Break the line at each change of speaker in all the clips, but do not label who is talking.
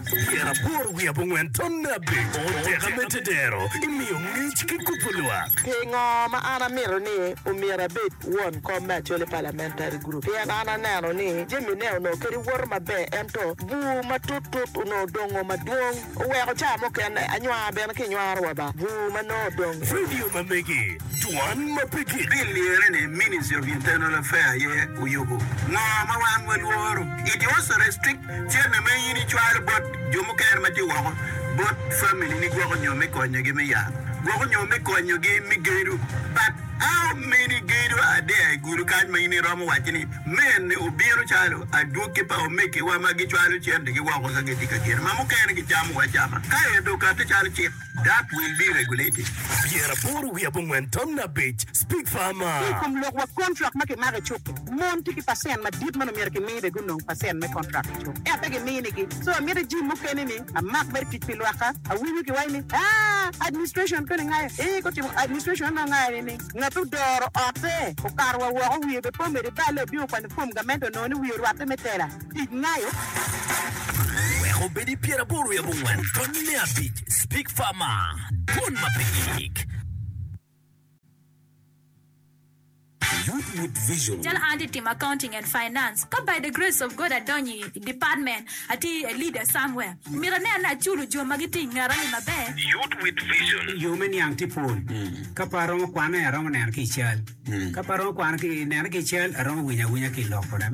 Pyeraboro wiye abongwen tonne abic Oteka me tedero imiyo ngec ki kubo lwak.
Pingo ma an amito ni omyero abed won kom me Acholi Parliamentary Group? Pien an aneno ni jami ne onongo kadi woto maber ento bur matut tut onongo odongo madwong oweko ca mukene anywar bene ki nywaro wa ba bur ma nongo odong.
Radio ma megi, dwan ma pe gik.
Bill lire ni Ministry of Internal Affair aye oyubo. Ngo ma wan walworo? It also restrict cente ma in icwalo bot jo mukene ma tye woko bot family ni gwoko nyo me konyogi me yat, gwoko nyo me konyogi me gedo. But how many gedo are there i gudo kany ma in iromo waco ni mene obino calo adwogi pa omegiwa ma gicwalo centegi woko ka gitye ka gedo ma mukene gicamo wa acama ka ento okati calo cik?
That will be regulated. 85 5 Speak Farmer.
Ki i kom lok wa kontrak ma kimako i cuk-ki, mon tye ki pacent madit ma nongo myero kimi bene gunong pacent me kontrak i cuk ento pe giminigi. So amito jim mukene ni amak mere tic pi lwakka. Awinyo kiwaco ni aa administration koni ngayo ee gutimo administration nongo ngayo ni ngat odoro otte okato wa woko wiye bene pe omedo iballe obino okwanyo form gamente onongo ni wiye orwatte me tela. Tic ngayo.
Wek obed i pyeraboro wiye abongwen tonne abic Speak Farmer, Dwon ma pe gik. Youth with Vision.
Calo an atye timo accounting and finance ka by the grace of God adonyo i department atye a leader somewhere myero anen ni aculo jo ma gitye i ngeta ni maber.
Youth with Vision.
Yo me niang tye pol. Ka pe aromo kwane, aromo neno ki i cal. Ka pe aromo kwano ki nene ki i cal, aromo winyo awinya ki i lok kode.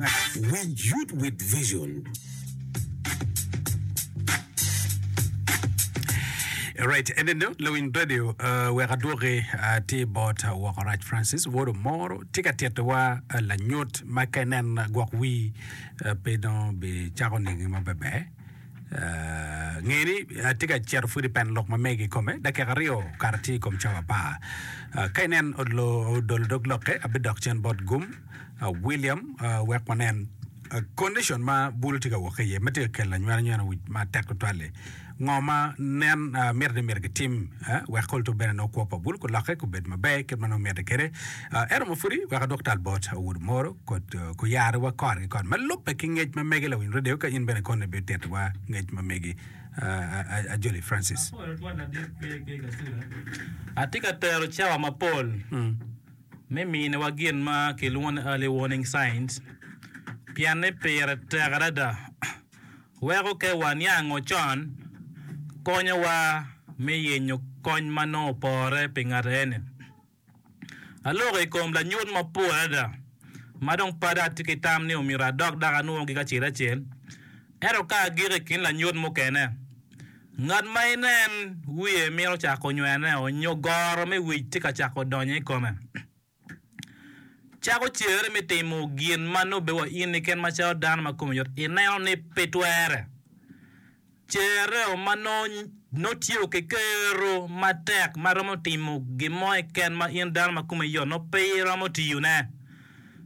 Winj Youth with Vision.
Right, eneno lawiny radio uh, wek adwoki uh, tye bot uh, woko rac Francis wod omoro tye ka titowa uh, lanyut ma ka inen uh, gwok wi uh, pe dong bicako ningi maber Nge ni atye ka cito pud i pen lok ma megi kikome, dakika aryo okato tye i kom cawa apar. Ka inen odolo dog lokke, abidok cen bot Gum William wek wanen condition ma bulu tye ka wok ki iye ma tye ka kelo anywena nywena wic matek tutwal-li. Ngo ma nen mitte ni myero kitim wek kol to bene nongo kwo pa bulu kulokke kubed maber kit ma nongo mitte kwede. Ento ma pudi wek adwok tal bot Owudu Moro kuyaro wa kore ki kore ma lubbe ki ngec ma mege lawiny radio ka in bene kono ibitito wa ngec ma megi Ajoli Francis.
Atye ka tero cawa mapol me miniwa gin ma kilwongo ni early warning signs pien ni pire tek adada. Weko ka waniango con konyowa me yenyo kony ma nongo opore pi ngat eni. Aloko i kom lanyut mapol adada ma dong pe dong atye ki tam ni omyero adok dok anwogi kacel acel. Ento ka agiko i kin lanyut mukene, ngat ma inen wiye mito cako nywene nyo goro me wic tye ka cako donyo i kome. Cako cere me timo gin ma nongo bedo wa in keken macalo dano ma kome yot ineno ni pe twere. Cereo ma nongo tye ki kero matek ma romo timo gin mo keken ma in dano ma kome yot nongo pe iromo tiyone.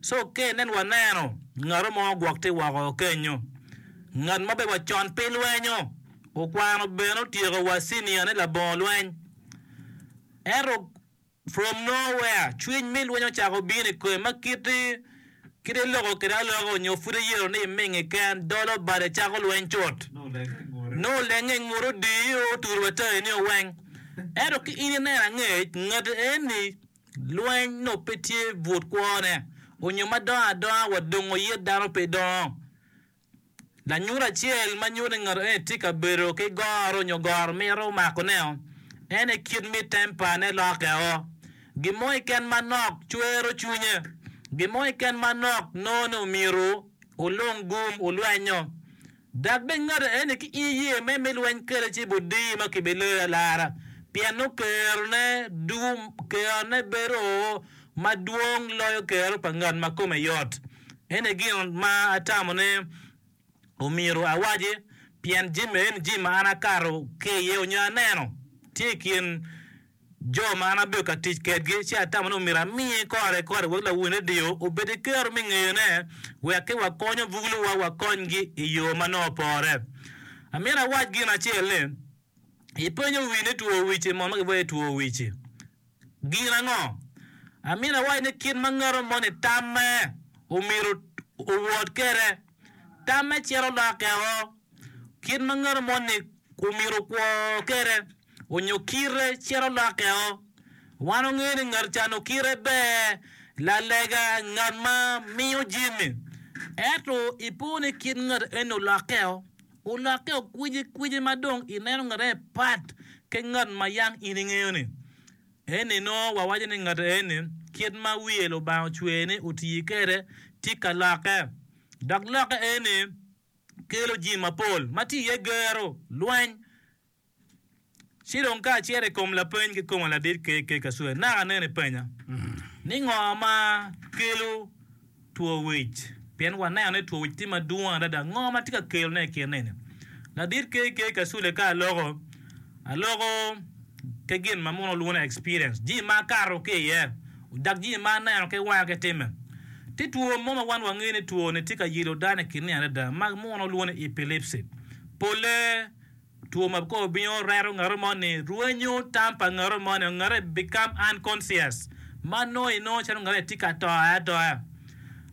So ka inen waneno ngat mo gwok tye woko kenyo, ngat ma bedo wa con pe lwenyo, okwano bene otyeko wa cinia ne labongo lweny ento From nowhere, cwiny me lweny ocako bino i kome ma kite kite loko kwede aloka onyo pud eyero ni iming keken, dolo bade cako lweny cut. Nongo olenge i ngute odiyo oturo wa tayi ni oweng. Ento ki in ineno angec, ngati eni lweny nongo pe tye but kwone onyo ma dongo adonga wa dongo yit dano pe dongo. Lanyut acel ma nyuto ni ngat eni tye ka bedo ki goro nyo goro mito makone-o, en aye kit me tempane lokke-o. Gin mo keken manok cwero cwinye. Gin mo keken manok nongo ni omyero wulung gum wulwenyo. Dok bene ngat eni ki in iye me me lweny kwede ci ibodiyi ma kibiloyi alara pien nongo kerone dugo kerone bedo madwong loyo kero pa ngat ma kome yot. Eni gin ma atamo ni omyero awaci, pien jami eni jami ma an akato ki iye nyo aneno tye i kin jo ma an abedo ka tic kedgi, ci atamo ni omyero amiye kore kore wek lawiny redio obed ki kero me ngeyone wek ki wakonyo buluwa wakonygi i yo ma nongo opore. Amito awac gin acel ni, ipenyo wi ni two wic-ci mono ma kiwaco ni two wic-ci Gin ango? Amito awac ni kit ma ngato moni tamme omyero owot kwede, tamme cito lokke o. Kit ma ngat moni omyero okwo kwede onyo kite cito lokkeo. Wan wangeyo ni ngat ca nongo kite ber, lalega, ngat ma miyo jami. Ento ipo ni kit ngat eni olokkeo, olokkeo kwicikwici ma dong ineno ngat eni pat ki ngat ma yang in ingeyo-ni. Eni nongo wawaco ni ngat eni kit ma wiye Lubanga ocweye ni oti kwede tye ka lokke. Dok lokke eni kelo jami mapol ma tye iye gero, lweny, Ci dong ka acito i kom lapeny kikoma ladit KK Kasule, naka aneno ipenya ni ngo ma kelo two wic? Pien waneno ni two wic tye madwong adada, ngo ma tye ka kelone i kin eni? Ladit KK Kasule ka aloko, aloko ki gin ma muno lwongo ni experience, jami ma akato ki iye dok jami ma aneno ki wanga ki timme. Tye two mo ma wan wangeyo ni two-ni tye ka yelo dano i kin ni adada ma muno lwongo ni epilepsy. Polle Two ma kor bino reto ngato moni, rwenyo tam pa ngato moni, ngato become unconscious ma nongo inongo calo ngato tye ka to atoya.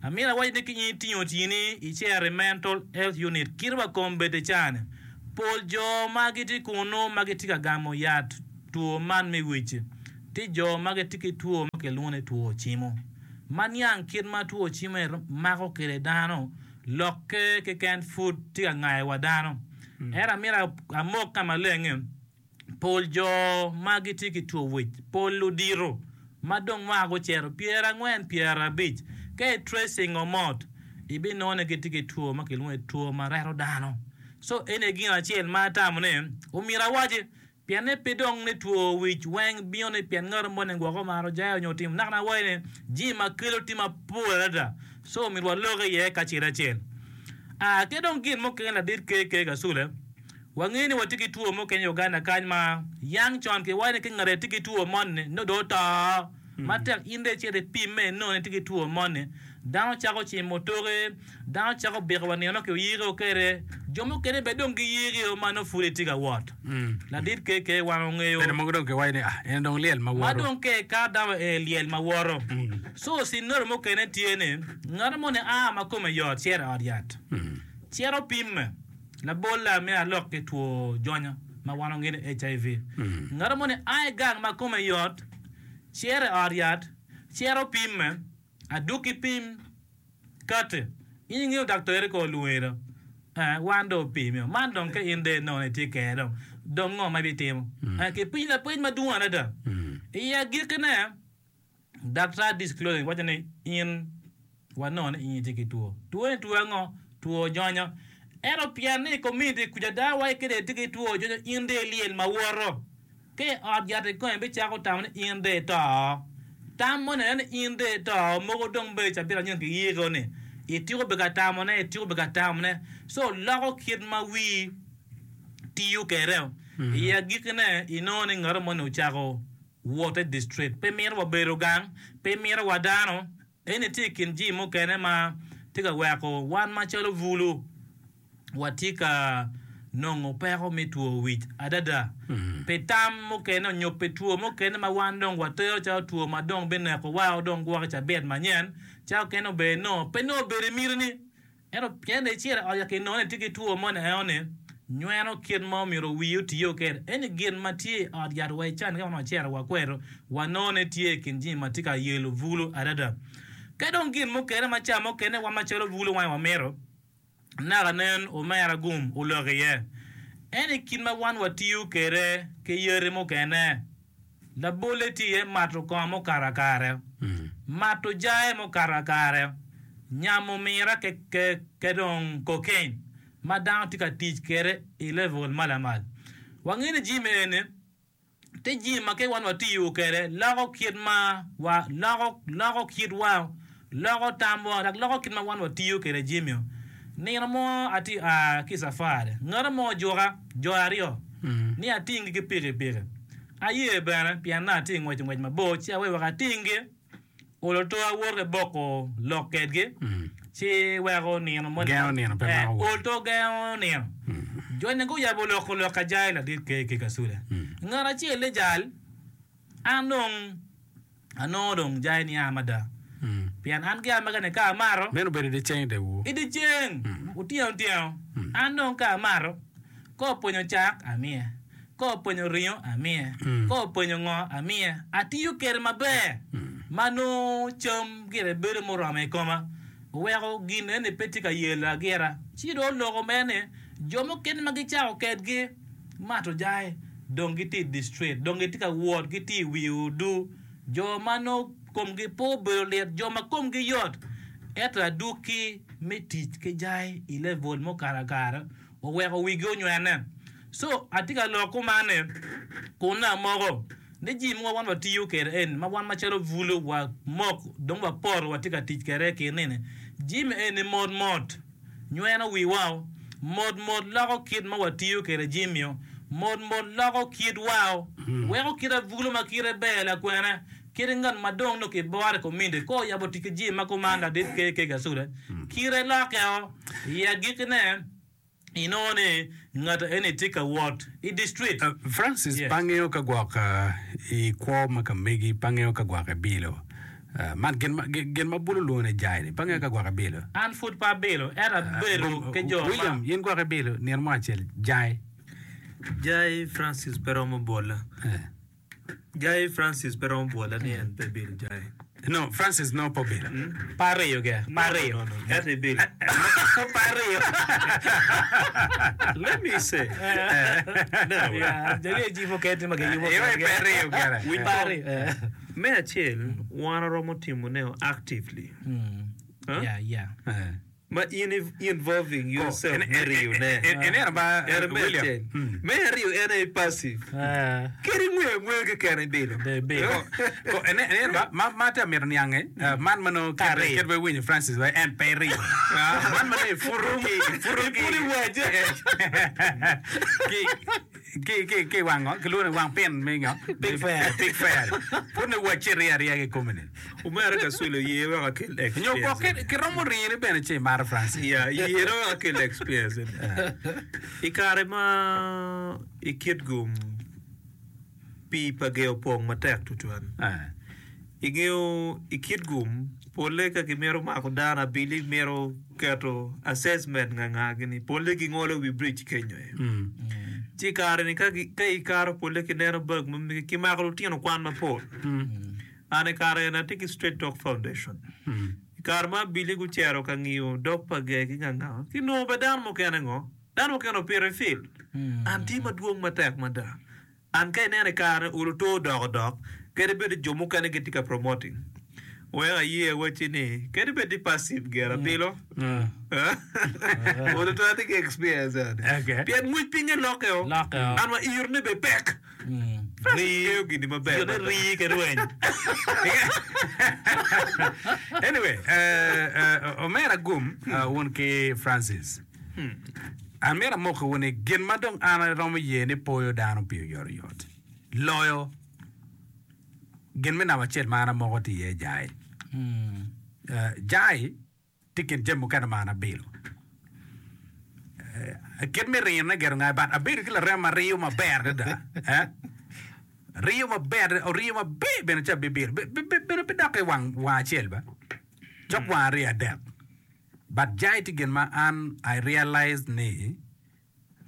Amito awaci ni ki in itingo tyeni icito i mental health unit kit wa kom bed i caa-ni, pol jo ma gitye kunu ma gitye ka gamo yat two man me wic tye jo ma gitye ki two ma kilwongo ni two cimo. Ma niang kit ma two cimo mako kwede dano Lokke keken pud tye ka ngayo wa dano. Ento amito amok ka maleng ni, pol jo ma gitye ki two wic, pol ludito ma dong mwaka gucito pyerangwen, pyerabic, ka i tracing o mot, ibinongo ni gitye ki two ma kilwongo ni two ma reto dano. So eni aye gin acel ma atamo ni omyero awaci. Pienne pe dong ni two wic weng bino ni pien ngat moni gwok omaro jayo nyo otimo naka na waci ni jami ma kelo tye mapol adada so myero walok iye kacel acel. Aa ki dong gin mukene ladit KK Kasule wangeyo ni watye ki two mukene i Uganda kany ma yang con kiwaco ni ki ngat tye ki two moni nongo dong oto. Matek in dong icito ipimme inongo ni itye ki two moni, dano cako cimo toki, dano cako biko wa nino ma kiyiko kwede, jo mukene bene dong giyikio ma nongo pud itye ka wot. Ladit KK wan ongeyo.
Bene mogo dong kiwaco ni ah en dong lyel ma
Ma
woto.
dong ka ikato dano ee lyel ma woto. So scenario mukene tye ni ngat moni a ma kome yot cito i ot yat, cito pimme. Labolle amito alok ki two jonyo ma wan wangeyo ni HIV. Ngat moni a i gang ma kome yot, Cito i ot yat, cito pimme, adwogi pim kati. In ingeyo daktarri ka olwongi do? Eh, wan dong opimio. Man dong ka in dong inongo ni itye kene dong, dong ngo ma ibitimo? Eh, kipenyi lapeny madwong adada. I agikkine, daktar disclosing waco ni in Wanongo ni in itye ki two. Two-ni two ango? Two jonyo. Ento pien ni i komuniti kuca ada wa kede itye ki two jonyo, in dong ilyel ma woto. Ka i ot yat ikome bicako tamo ni in dong ito. Tam moni aye ni in dong ito mogo dong bedo cabit anyen kiyiko ni ityeko bedo ka tamone, ityeko bedo ka tamone. So loko kit ma wii tiyo kwede. I agikkine inongo ni ngat moni ocako wot i distrit. Pe mito wa bedo gang, pe mito wa dano. Eni tye i kin jami mukene ma tye ka weko wan macalo bulu watye ka nongo peko me two wic adada pi tam mukene nyo pi two mukene ma wan dong watero calo two ma dong binekowa dong gwok i cabit manyen ca okene obedo nongo pe nongo obedo i mitini. Ento pien dong icito i ot yat kinongo ni itye ki two moni enoni, nyweno kit ma omyero wii otiyo kwede. Eni gin ma tye i ot yat wa i cani ka wan wacito wakweto, wanongo ni tye i kin jami ma tye ka yelo bulu adada. Ka dong gin mukene ma ca mukene wan macalo bulu wange wamito, naka nen omera gum olok iye. Eni kit ma wan watiyo kwede ki yadi mukene. Labolle tye iye mato kongo mukato akare, mato jaye mukato akare, nyamo mira ki dong cocaine ma dano tye ka tic kwede i level ma lamal. Wangeyo ni jami eni tye jami ma ka wan watiyo kwede loko kit ma wa loko loko kitwa loko tamwa dok loko kit ma wan watiyo kwede jami-o. Nino mo atye a ki i cafari, ngat mo ojuka jo aryo ni atinggi ki pikipiki. Aye bene pien nongo atye ka ngweco ngwec mabor ci aweyo wek atinggi, olo to awoto ki boko lok kwedgi ci weko nino moni
Gengo nino pe mako woko.
ol to gengo nino. Jo-ni guyabo loko lok ajayi ladit KK Kasule. Ngat acel ni jal an dong Anongo dong jai nia mada, pien an gi amega-ni ka amato.
Meno obedo i dyeceng i dyewor.
I dyeceng, otyeno tyeno, an dong ka amato. Ka openyo cak, amiye. Ka openyo ringo, amiye. Ka openyo ngo, amiye. Atiyo kwede maber ma nongo cam gire bedo muromo i koma, oweko gin eni pe tye ka yela gira. Ci dong oloko mere ni, jo mukene ma gicako kedgi mato jai dong gitye i distrit, dong gitye ka wot, gitye i wi odur. Jo ma nongo komgi pe obedo lit, jo ma komgi yot, ento adwogi me tic ki jai i level mukato akara oweko wigi onywene. So, atye ka lok kuman ni, kun nongo amoko ni jami mogo wan watiyo kwede eni, ma wan macalo bulu wamok dong wapoto watye ka tic kwede i kin nini, jami eni mot mot nyweno wiwa, mot mot loko kit ma watiyo kwede jami-o, mot mot loko kitwa, weko kit abulu ma kite ber lakwene, kit ngat ma dong nongo kiboro i kominiti ka oyabo tic ki jami ma kuman ladit KK Kasule, kite lokkeo. I agikkine, inongo ni ngat eni tye ka wot i distrit.
Francis
Yes.
pe angeyo ka gwok i kwo ma ka megi, pe angeyo ka gwok ibilo. Man gin ma, gin ma bulu lwongo ni jai-ni, pe angeyo ka gwok ibilo.
An pud pe abilo, ento abedo ki jo ma.
William, in gwok ibilo nino mo acel jai?
Jai Francis pe romo bola. Jai Francis pe romo bwola ni en pe bilo jai.
No, Francis no pe obilo.
Pe ariyo ge, pe ariyo.
No, no, no, ento ibilo.
Pe ariyo.
Let me say. Now.
Yeah, jami aji mukene tye ma giyubo
Iwe
kengi.
pe ariyo gire.
Winy
Pe ariyo.
Me acel, wan waromo timone actively. Huh?
Yeah, yeah.
Eh.
Ma in involving yourself me riyo ne.
Ineno ba
Ento me
William.
acel. Me aryo en aye passive. Kadi ingweyo angweya keken ibilo.
Ko ineno ba ma ma atye ka mito niange man ma nongo kit kit ma iwinyo Francis wa en pe iriyo. Man ma nongo iputo ki iputo ki
Iputo iwace.
ki ki ki ki wang ngo kilwongo ni wang pin me ngo
Pig fair.
Pig fair. Pud ni wacci iriyo ariya kikome ni.
Omera Kasule oye wek akel
Nyo gwok
experience.
ki kiromo rini bene ci imaro Francis.
Yeah, yena wek akel experience eni. I kare ma i Kitgum pii pa gee opong matek tutwal. Ingeyo i Kitgum polle ka gimito mako dano abili mito keto assessment nga nga gini polle gingolo wi bridge kenyo aye. Ci i kare ni ka ikato polle kineno bag ma megi kimako lutino kwan mapol. An i kare eni atye ki Straight Talk Foundation. I kare ma abili gucito ka ngiyo dog pa ger ki nganga, kinongo bene dano mukene ngo? Dano mukene opito i field. An tye madwong matek mada. An ka ineno i kare ni olo to odoko dok, kadi bed ni jo mukene gitye ka promoting. Wek aye awacci ni, kadi bed ni passive ger abilo, olo to atye ki experience eni. Pien ngwec pinye lokke o, an wa irone bene pek. Ngeyo gini maber
Gin
mada.
rii ki rweny.
Anyway, eh, eh, omera Gum eh, wun ki Francis. Amito amokiwu ni gin ma dong an aromo ye ni poyo dano pi oyotoyot loyo gin me namba acel ma an amoko tye iye jai. Eh, jai Tye i kin jami mukene ma an abilo. Kit me riyone gire ongayo but abedo ki larema ma riyo maber adada. Riyo maber, oriyo maber bene ci abibilo. Bene pe dok i wang wang acel ba. Cok wang ariyo adek. But jai tye gin ma an I realized ni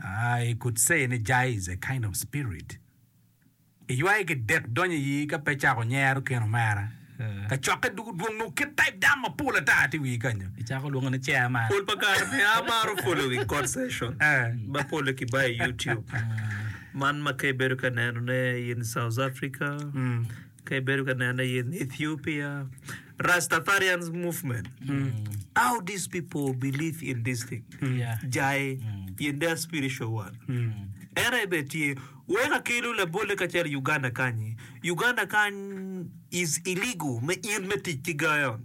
I could say ni jai is a kind of spirit. Iywaye ki dek donyo iyi ka pe cako nyero kin omera. Kacokke dugu dwong nongo kit type dano mapol ata tye i wii kanyo.
Icako lwongo ni chairman.
Pol pa kare me amaro following court session ma pole ki bayo i YouTube. Man ma ka ibedo ka neno ne in South Africa, ka ibedo ka neno ne in Ethiopia, Rastafarians movement. How these people believe in this thing. Jai in their spiritual world. En aye bene tye. Wek akelu labolle kacel i Uganda kanyi. Uganda kany is illegal me in me tic ki gayon.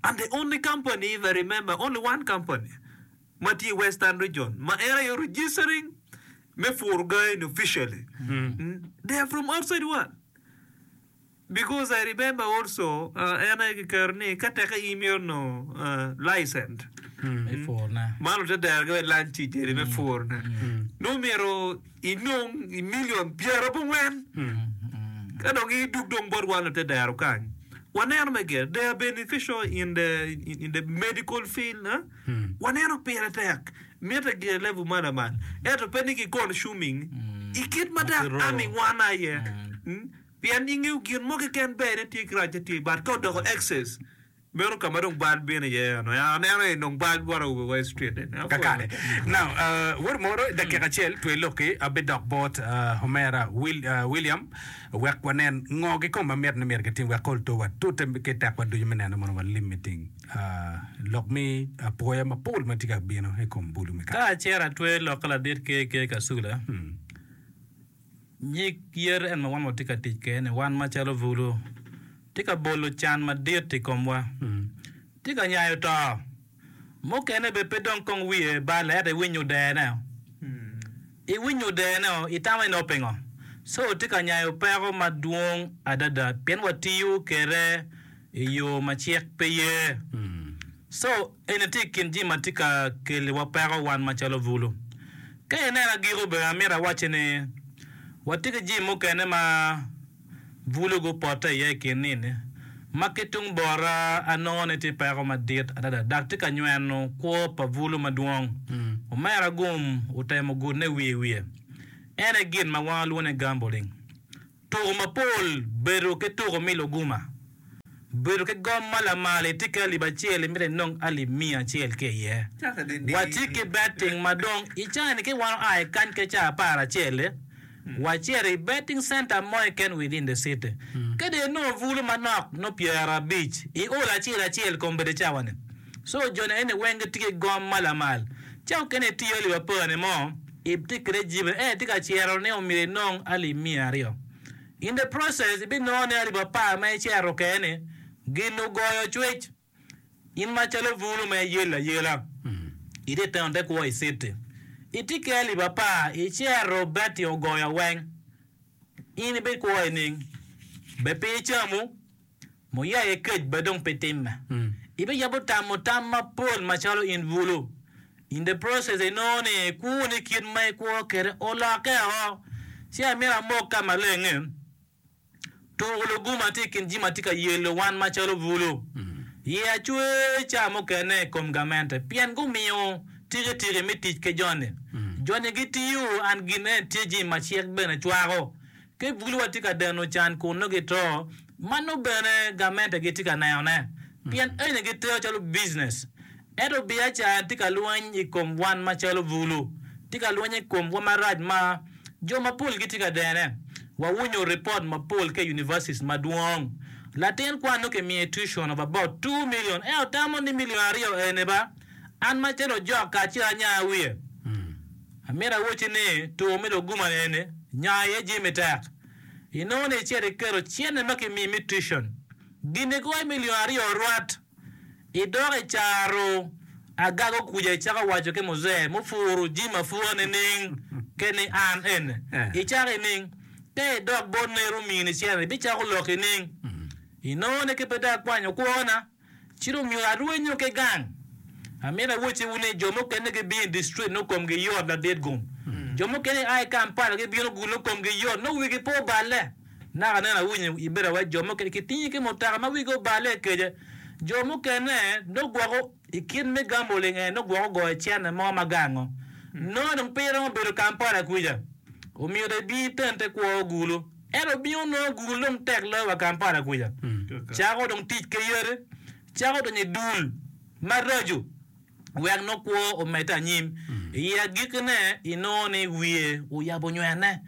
And the only company if I remember only one company ma tye i western region ma en aye registering me puro gayo ni officially. They are from outside world. Because I remember also en aye kiketo ni ka teke in imito nongo licent
Me purone.
man ote dero ki wek lancic eni me purone nongo myero inong i million pyerabongwen ka dong idug dong bot wan ote dero kany waneno me gire they are beneficial in the in the medical field waneno pire tek. Mitte gire level ma lamal ento pe ni ki consuming i kit ma dok ami wan aye pien ingeyo gin mo keken ber ne tye ki racce tye but ka odoko excess meno ka ma dong bal bino iye eno aneno ni dong bal bot awobe wa i street eni.
Kakare. Now, wod moro dakika acel twe lokki abidok bot omera William wek wanen ngo kikome ma mitte ni myero kitim wek kol to watute ki tekwa ducu me neno mono walim meeting. Lok me apoya mapol ma tye ka bino i kom bulu me
Ka
kare.
acito atweyo lok ka ladit KK Kasula, nyig yer en ma wan watye ka tic kwede-ni, wan macalo bulu, tye ka bolo can madit i komwa, tye ka nyayo to. Mukene bene pe dong kong wiye balle ento iwinyo odene. Iwinyo odene-o, itamo ni nongo pingo? Co tye ka nyayo peko madwong adada pien watiyo kwede i yo ma cik pe ye. Co eni tye i kin jami ma tye ka keliwa peko wan macalo bulu. Ka ineno agiko bene amito awacci ni watye ki jami mukene ma Bulu gupotte iye i kin nini ma ki tung bota anongo ni tye peko madit adada dok tye ka nyweno kwo pa bulu madwong. Omera Gum otemo gudne wiye wiye. En aye gin ma wan walwongo ni gambling. Tuko mapol bedo ki tuko me luguma. Bedo ki gom ma lamal itye ki alip acel imito inong alip miya acel ki iye. Watye ki betting ma dong i caa-ni ki wan oa i kany ki caa aparacel-li, wacito i betting center mo keken within the city. Ka dong inongo bulu manok nongo pyerabic iolo acel acel kombeddi cawa-ni. So joni eni weng gitye ki gom ma lamal. Ca mukene itiyo alip apar-ni mo itye kwede jibe ento itye ka cito ni omyero inong alip miya aryo. In the process, ibinongo ni alip apar ma icito kene gin ogoyo cwec. In macalo bulu ma iyelo ayela, itye teno te kwo i city, itye ki alip apar, icito beti ogoyo weng, in ibikwo nining? Be pe icamu? Muyaye kec bene dong pe timme. Ibiyabo tamo tam mapol macalo in bulu. In the process inongo ni kwoni kit ma ikwo kwede olokke o. Ci amito amok ka maleng ni, tuko luguma tye i kin jami ma tye ka yelo wan macalo bulu. Iya cwer ca mukene i kom gamente pien gumiyo tikitiki me tic ki joni. Joni gitiyo and gin eni tye jami ma cik bene cwako. Ka buluwa tye ka deno can kun nongo gito, ma nongo bene gamente gitye ka nenone, pien eni gitero calo business. Ento biacara tye ka lweny i kom wan macalo bulu, tye ka lweny i komwa marac ma jo mapol gitye ka dene. Wawinyo ripot mapol ki i universities madwong. Latin kwan nongo kimiye tuition of about 2 million, ento tamo ni million aryo eni ba, an macalo ojok kacel anya wiye. Amito awocci ni, tur me luguma eni nya iye jami tek. Inongo ni icito iketo cente ma kimiyi me tuition, gin igoyo milion aryo rwat, idok i caro agago kuca icako waco ki muzee mupuru jami apura nining ke ni an eni icako ining? Ka idok bot nero omini cente ibicako lok ining? Inongo ni ki pe dong akwanyo kwona. Ci dong myero arwenyo ki gang. Amito awocciwu ni jo mukene gibino i district nongo komgi yot ladit gum. Jo mukene gia i Kampala gibino gulu nongo komgi yot nongo wigi pe oballe. Naka nen awinyo ibedo awaci jo mukene kitingi ki mutoka ma wigi oballe kece. Jo mukene nongo gwoko i kit me gambling eni nongo gwoko goyo cente mo ma gango. Nongo dong pe iromo bedo Kampala kwica. Omyero ibin itente kwo gulu. Ento obingo nongo gul dong tek loyo wa Kampala kuca. Cako dong tic ki yadi, cako donyo i dul maraco wek nongo kwo omedde anyim. I agikkine inongo ni wiye oyabo nywene.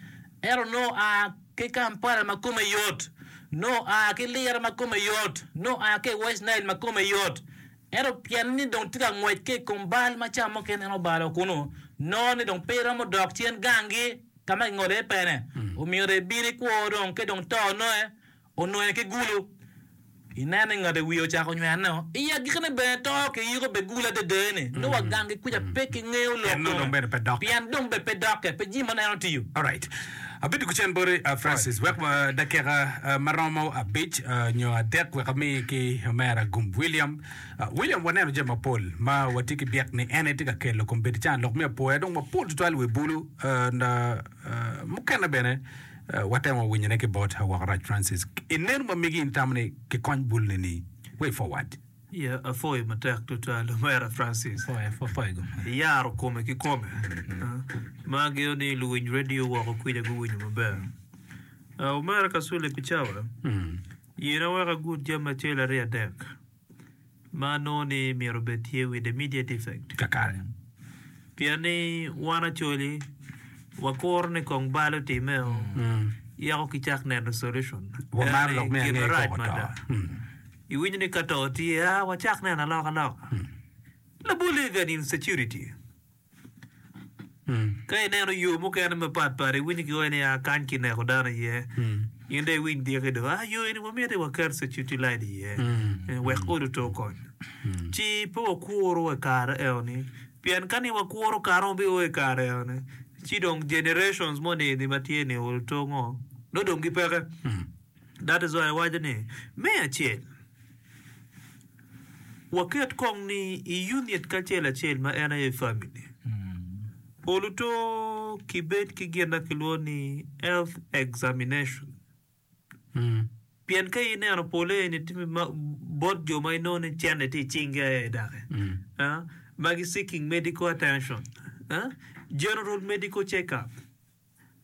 Ento nongo oa ki Kampala ma kome yot, nongo oa ki Lira ma kome yot, nongo oa ki i West Nile ma kome yot. Ento pien ni dong tye ka ngwec ki i kom bal ma ca mukene en obalo kunu, nongo ni dong pe romo dok cen ganggi. Ka ma kingolo iye pene, omyero ibin ikwo dong ki dong to nonge ononge ki gulu. Ineno ni ngat i wiye ocako nywene-o, i agikkine bene to kiyiko be gulu adada-ni. Nongo wa ganggi kuca pe kingeyo lok kome, pien dong bene pe dokke, pe jami ma nongo en otiyo.
Alright. Abedo ki cen boti Francis, wek dakika ma romo abic nyo adek wek ami ki omera Gum William. William, waneno jami mapol ma watye ki byek ni en aye tye ka kelo kombeddi can lok me apoya dong mapol tutwal i wi bulu mukene bene watemo winyone ki bot Woko Rac Francis. I neno ma megi in itamo ni kikony bulu ni ni way forward?
Yeah, apwoyo matek tutwal Omera Francis.
Apwoyo, apwoyo go.
Iyaro kome ki kome. Ma angeyo ni luwiny radio woko kwija guwinyo maber. Omera Kasule pi cawa, yena wek agud jami acel aryo adek ma anongo ni myero obed tye with immediate effect.
Kakare.
Pien ni wan Acholi wakuro ni kong bal otimmeo, yako kicak neno solution.
Wamaro
Ento
lok me
gin
ange
marac
koko to.
mada. Iwinyo ni ka to tye, aa wacak neno alokaloka. Labolle even insecurity. Ka ineno yo mukene mapat pat iwinyo kiwaco ni aa kany kineko dano iye. In dong iwiny diki dong, aa yo eni wamito ni waket security light iye wek odi oto okony. Ci pe wakuru wa i kare eno-ni pien ka ni wakuro kare ma bio i kare eno-ni ci dong generations moni eni ma tye ni oto ngo nongo dong gipeke. That is why awaco ni me acel waket kong ni i unit kacel acel ma en aye family oluto kibed ki gin ma kilwongo ni health examination pien ka ineno pole eni tye bot jo ma inongo ni cente tye i cingi aye doki ma gi seeking medical attention general medical check up.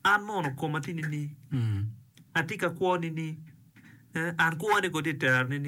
An mono koma tye nining? Atye ka kwo nining? An kwone kono tye tera nining?